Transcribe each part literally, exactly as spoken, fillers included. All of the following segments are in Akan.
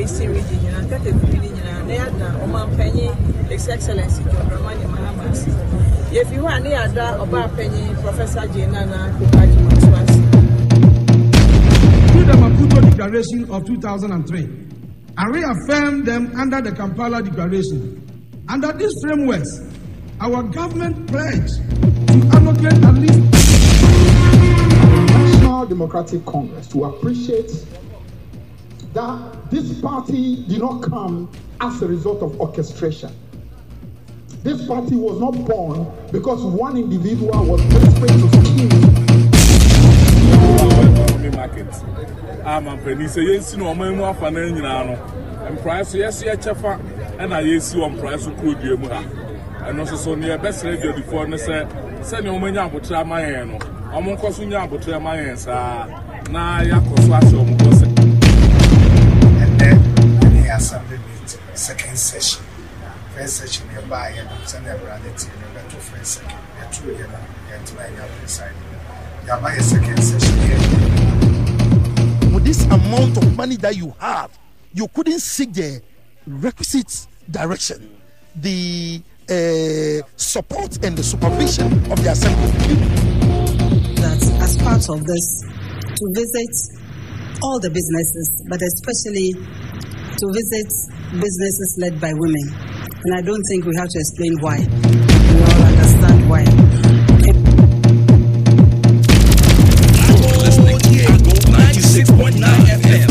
Eastern Region nyinaa, thirty-three ne nyinaa, na yɛada ɔmanpanyin, His Excellency John Dramani Mahama, ase. Yɛfi hɔ a, ne yɛada ɔbaapanyin Professor Jane Nana Opoku Agyemang so ase. Through the Maputo Declaration of two thousand three and reaffirmed them under the Kampala Declaration. Under these frameworks, our government pledged to allocate at least National Democratic Congress to appreciate that this party did not come as a result of orchestration. This party was not born because one individual was desperate to scheme. Market a mampanin sɛ yɛnsi no ɔman mu afa no nyinaa no, mprae so yɛso yɛkyɛfa ɛna yɛsi wɔ mprae so kurodua mu ha. Ɛno nso so ne yɛbɛsrɛ adwadifoɔ no sɛ sɛnea wɔn abotrɛ ama yɛn no, wɔn nkɔ so nya abotrɛ ama yɛn saa na yɛakɔ so ahyɛ wɔn bɔ sɛ. Ɛnɛ ɛne assembly meeting, second session. First session yɛbaa yɛ no, sɛnea awurade te no, yɛbɛto first second yɛto yɛ no, yɛntena yɛnya preside. Yɛaba yɛ second session yɛ. With this amount of money that you have, you couldn't seek the requisite direction, the uh, support and the supervision of the assembly. That as part of this, to visit all the businesses, but especially to visit businesses led by women. And I don't think we have to explain why. We all understand why. Listening to Ago ninety-six point nine F M.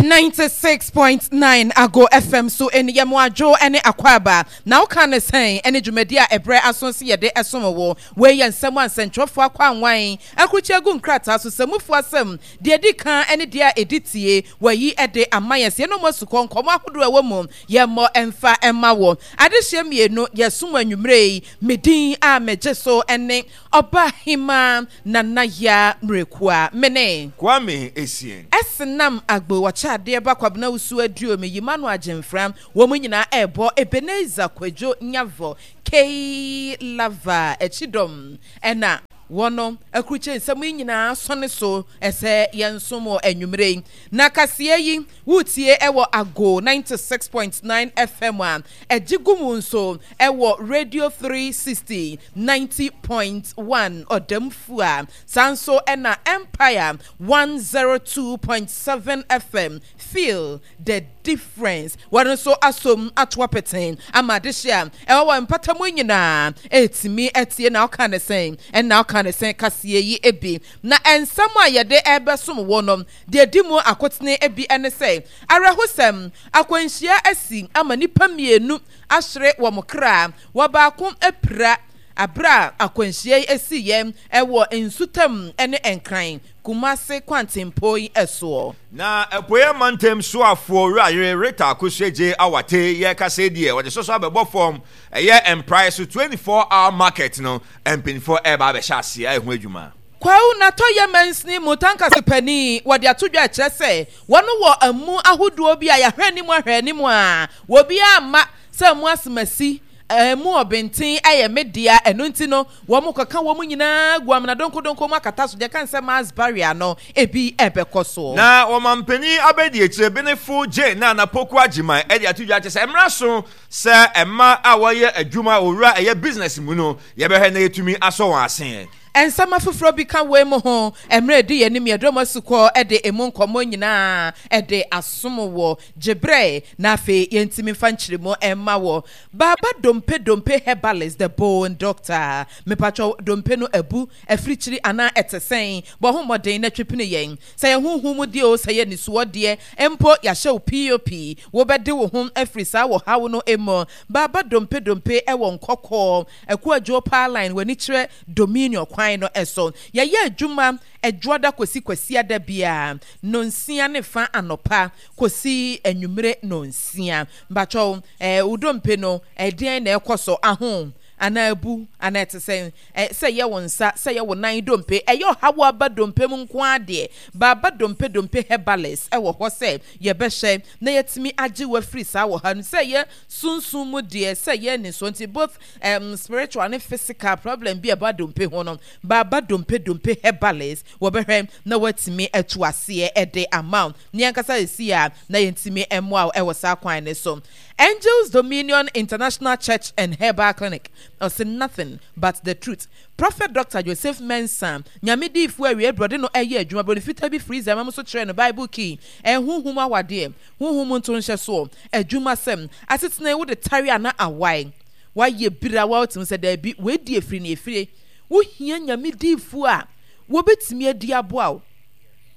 Ninety-six point nine Ago F M so ɛni yɛn mo adwo ɛne akwaba na ɔka ne sɛn ɛne dwumadi a ɛbrɛ aso si yɛde ɛsom wɔ. Wei yɛ nsɛm a nsɛntwerɛfoɔ akɔ anwan akurukyi agu nkrataa so, sɛmufoɔ asɛm deɛ di kan ɛne deɛ a ɛdi tie wɔyi ɛde ama yɛn sɛ yɛn mo asukɔ nkɔmɔ ahodoɔ ɛwɔ mu yɛmmɔ ɛmfa ɛma wɔ adehyɛ mmienu yɛsom anwummerɛ yi. Medin a megye so ɛne ɔba hema Nana Ya Mmirekua mene Kwame Essien. Ɛsenam agbo wɔkyɛ adeɛ ba Kwabena Wusu aduo yima no agyemfra wɔn nyinaa ɛrebɔ Ebenezer Kwadwo Nyavɔ Kei Lava akyidɔm ɛna wɔn akurukye nsɛm yi nyinaa sɔne so ɛsɛ yɛn nsom wɔ anwummerɛ yi. Na kaseɛ yi wotie ɛwɔ Ago ninety-six point nine F M a ɛgye gu mu nso ɛwɔ Radio three sixty ninety point one ɔdɛmfu a saa nso ɛna Empire one oh two point seven F M. Feel the difference. Wɔn nso asom ato apɛtɛn ama adehye a ɛwɔ wɔ mpatamu nyinaa ɛtumi ɛtie na ɔka ne sɛn ɛna ɔka ne sɛn kaseɛ yi ebi. Na nsɛm a yɛde ɛbɛsom wɔ no deɛ di mu akotene ebi ɛne sɛ awerɛhosɛm akwanhyia asi ama nipa mmienu ahyere wɔn kra, wɔ baako apira abere a akwanhyia yi esi yɛ ɛwɔ nsutam ɛne Nkran Kumase kwantempo yi ɛsoɔ. Na apueɛ mantam soafoɔ Owurayere Rita Akosua Awate yɛkasa deɛ wɔde soso abɛbɔ fam ɛyɛ mprae so twenty-four hour market no, mpanyinfoɔ ɛreba abɛhyɛ aseɛ ɛho adwuma. Kwawu natɔyɛ mansini mu tankase panin wɔde ato dwa kyerɛ sɛ wɔn wɔ amu ahodoɔ bi a yɛahwɛ anim ahwɛ anim a wɔbiara ama sɛ mu asemasi ɛmu ɔbɛnten ɛyɛ me dea. Ɛno nti no wɔn kɔka wɔn nyinaa gu amena donkodonko mu akata so deɛ kan sɛ mass burial no ebi ɛbɛkɔ soɔ. Na wɔmampanin abɛdi akyire benefo gye na Anapoku Agyeman ɛde ato dwa kyerɛ sɛ mmara so sɛ mma a wɔyɛ adwuma owura ɛyɛ business mu no, yɛbɛhwɛ na yɛtumi asɔ wɔn ase. Nsɛm afoforɔ bi ka wei mu ho mmerɛ di yɛn anim yɛdɔm asukɔ de emu nkɔmmɔ nyinaa de asom wɔ gyebrɛ na afei yɛntumi mfa nkyerɛmu ɛma wɔ Baaba Dompe Dompe Herbalist, the bone doctor. Mepatwɔ dompe no abu afirikyiri anaa ɛte sɛn? Bɔ ho mmɔden na twepene yɛn sɛ yɛn honhom mu deɛ o, sɛ yɛ nisuo deɛ mpo yɛahyɛ wo pop wobɛde wo ho afiri saa wɔ haw no mu. Baaba Dompe Dompe ɛwɔ Nkɔkɔɔ Akuadwo Power Line, w'ani kyerɛ Dominion kwan no ɛso. Yɛyɛ adwuma Ɛdwoada kɔsi Kwasiada biara nonsia ne fa anɔpa kɔsi anwummere nonsia. Mbatwɛw ɛɛ wo dompe no ɛdeɛn na ɛkɔ so aho Anaa abu, anaa ɛte sɛn? Ɛ, sɛ ɛyɛ wo nsa, sɛ ɛyɛ wo nan dompe, ɛyɛ ɔhaw aba dompe mu nko ara deɛ, Baaba Dompe Dompe Herbalist wɔ hɔ sɛ yɛbɛhwɛ na yɛatumi agye wo afiri saa ɔhaw no mu. Sɛ ɛyɛ sunsum mu deɛ, sɛ ɛyɛ anisoɔ nti, both um, spiritual ne physical problem bi a ɛba dompe ho no, Baaba Dompe Dompe Herbalist wɔbɛhwɛ na wɔatumi atu aseɛ de ama wo. Ne ankasa ɛsi a na yɛntumi mmoa wo wɔ saa kwan no so. Angels Dominion International Church and Herbal Clinic, ɔse nothing but the truth. Prophet Doctor Joseph Mensah, Nyame diifoɔ awiei berɛ ɔde no ɛyɛ adwuma, broni fitaa bi firi Zama mu so kyerɛɛ no Bible key, ɛnhonhom awadeɛ, honhom mu nto nhyɛsoɔ, adwuma sɛm, asetena yi wode tare a na awae, wayɛ bira wa wotumi sɛ daabi, wei di efiri ne efire, wohia Nyame diifoɔ a wɔbɛtumi adi aboa wo.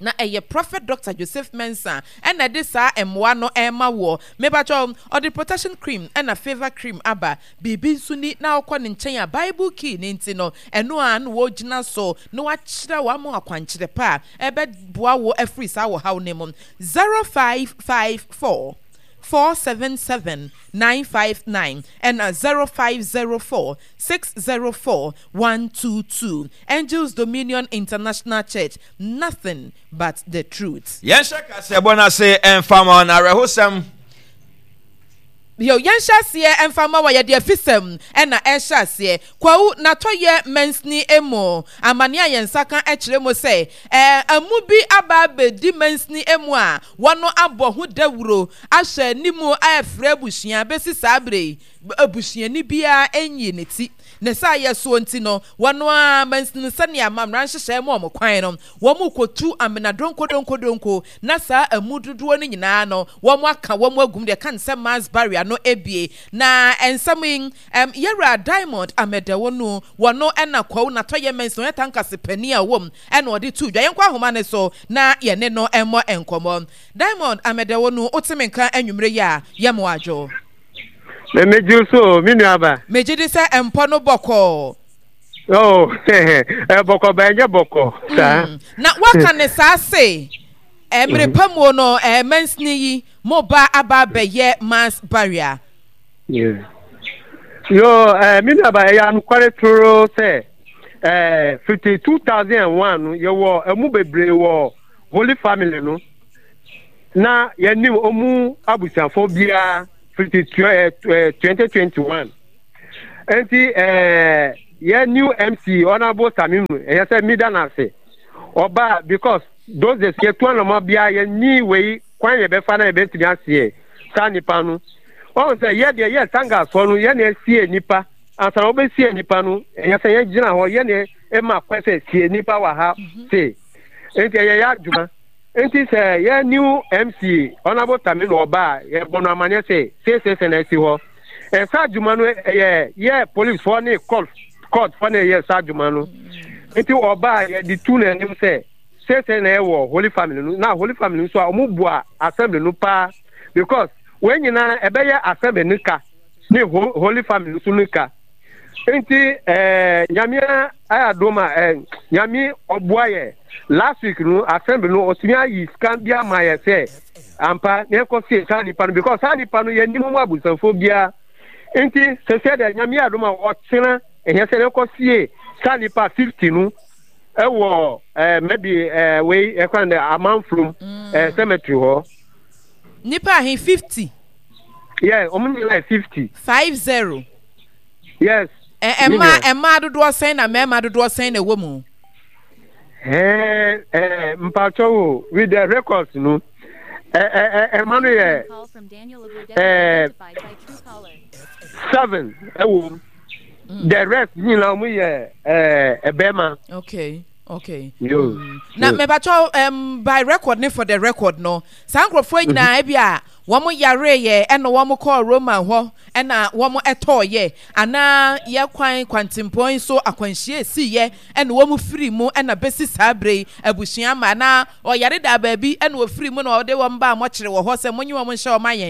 Na ɛyɛ Prophet Doctor Joseph Mensah ɛna ɛde saa mmoa no ɛrema woɔ. Mepakyɛw, ɔde protection cream ɛna favour cream aba. Biribi nso ni na wokɔ ne nkyɛn a Bible key no nti no, ɛno ara na wɔgyina so na wakyerɛ wo ama wo akwankyerɛ pa a ɛbɛboa wo afiri saa ɔhaw no mu. Zero five five four four seven seven nine five nine ɛna zero five zero four six zero four one two two. Angels Dominion International Church, nothing but the truth. Yɛnhyɛ kaseɛbɔ no ase mfa ma na awerɛhosɛm. Yo, yɛnhyɛ aseɛ mfa ma wɔ yɛde afisɛm ɛna ɛhyɛ aseɛ. Kwawu Natɔyɛ mansini mu amane a yɛn nsa ka kyerɛ mu sɛ ɛɛ amu bi aba abɛdi mansini mu a wɔn abɔ ho dawuro ahyɛ anim ɛfrɛ abusua bɛsi saa bere yi, abusuani biara nyi ne ti. Ne saa yɛ soɔ nti no, wɔn a mansini sɛnea amammerɛ nhyehyɛ mu wɔn kwan no, wɔn kɔtu amena donkodonkodonko na saa amu dodoɔ no nyinaa no wɔn aka wɔn agum deɛ kan sɛ mass burial no ebie. Na nsɛm yi um, yɛwura Diamond Amɛdɛwo no, wɔno ɛna Kwawu Natɔyɛ mansini ɔyɛ tankase panin a wɔm ɛna ɔde to dwa. Yɛnkɔ ahoma ne so na yɛne no ɛmmɔ nkɔmmɔ. Diamond Amɛdɛwo no, woteme nka anwummerɛ yi a, yɛmo adwo. Megye so, me nuaba. Megye di sɛ mpɔ no bɔkɔɔ. Oh, bɔkɔ ba ɛnyɛ bɔkɔ saa. Na waka ne saa se mmerɛ pa mu no, mansini yi mo ba aba abɛyɛ mass burial. Yo, me nuaba, ɛyɛ anokware toro sɛ fifty two thousand and one no yɛwɔ ɛmu bebree wɔ Holy Family no na yɛnim ɔmu abusuafo biara fifty twenty twenty one. Nti ɛɛ yɛ new M C Honourable Samimu, ɛyɛ sɛ mida n'ase ɔba because those days yɛtu anamɔ biara yɛnyi wei kwan yɛbɛfa na yɛbɛtumi aseɛ saa nipa no. Ɔn sɛ yɛ deɛ yɛ sangasoɔ no, yɛ na esie nipa ansa na wɔbɛsie nipa no, ɛyɛ sɛ yɛgyina hɔ yɛ na ɛma kwan sɛ sie nipa wɔ ha se. Nti ɛyɛ yɛ adwuma. Nti sɛ yɛ new M C Honourable Samimu ɔba a, yɛbɔ no amaneɛ sɛ seesei na esi hɔ. Ɛsa adwuma no ɛyɛ yɛ policefoɔ ne court courtfoɔ na ɛyɛ saa adwuma no. Nti ɔba a, yɛde tu n'anim sɛ seesei na ɛwɔ Holy Family no na Holy Family nso a wɔn bua assembly no paa because wɔn nyinaa ɛbɛyɛ assembly no ka ne Holy Family nso no ka. Nti ɛɛ Nyame ayɛ adom a ɛɛ Nyame ɔboa yɛ, last week no assembly no ɔtumi ayi sika bi ama yɛ sɛ ampa na ɛkɔ sie saa nipa no because saa nipa no yɛ nim mu abusuafoɔ biara. Nti sɛsɛ deɛ Nyame adom a ɔkyena ɛhɛ sɛ ɛkɔ sie saa nipa fifty no ɛwɔ ɛɛ maybe ɛɛ wei ɛkwan dɛ Amanfurom ɛɛ cemetery hɔ. Nipa ahe, fifty? Yeah, wɔn nyinaa yɛ fifty. Five zero? Yes. Ɛ ɛmaa ɛmaa dodoɔ sɛn na mmarima dodoɔ sɛn na ɛwɔ mu? Ɛɛ ɛɛ mpatsɔ wo, with the records no, ɛ ɛ ɛma no yɛ ɛɛ seven ɛwɔ mu. The rest nyinaa wɔn yɛ ɛɛ ɛbɛrima. okay okay Yo. Mm. Na mɛbatɔ um, by record ne for the record no, saa nkurɔfoɔ nyinaa ebi a wɔn yare yɛ ɛna wɔn kɔɔ Roman hɔ ɛna wɔn ɛtɔɔ yɛ anaa yɛ kwan kwantempɔn yi so akwanhyia esi yɛ ɛna wɔn firi mu ɛna bɛsi saa bere yi abusua ama anaa ɔyare da baabi ɛna ofiri mu na ɔde wɔn ba a mɔkyerɛ wɔ hɔ sɛ monye wɔn nhyɛ wɔn ayɛn.